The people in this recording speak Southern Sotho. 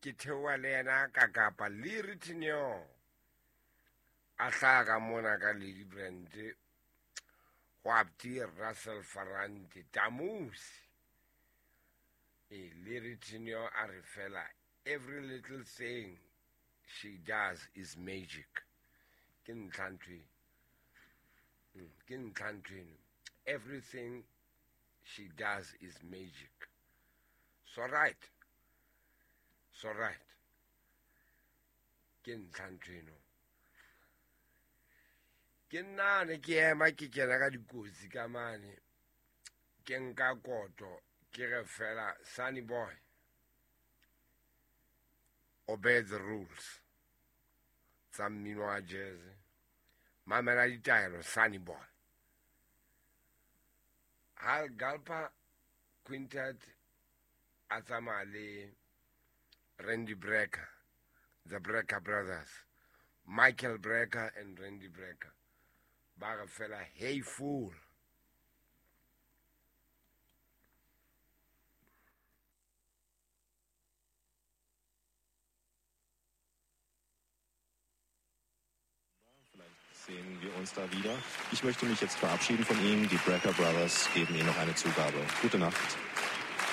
Ke theoha le yena ka Kapa, Leary Tineo a hlaha ka mona ka Lady Brand go apti Russell Farante Tamusi. E Leary Tineo a re fela every little thing she does is magic. Ke ntlha ntho e. Ke ntlha ntho eno. Everything she does is magic. So right. So right. Ke ntlha ntho eno. Ke nna ne ke ema ke kena ka dikotsi ka mane. Ke nka koto ke re fela Sunny Boy, obey the rules tsa mmino wa jazz. Mamela ditaelo Sunny Boy. Hal Galper Quintet a tsamaya le Randy Brecker, the Brecker Brothers, Michael Brecker and Randy Brecker. Ba re fela hey fool. Sehen wir uns da wieder. Ich möchte mich jetzt verabschieden von Ihnen. Die Brecker Brothers geben Ihnen noch eine Zugabe. Gute Nacht.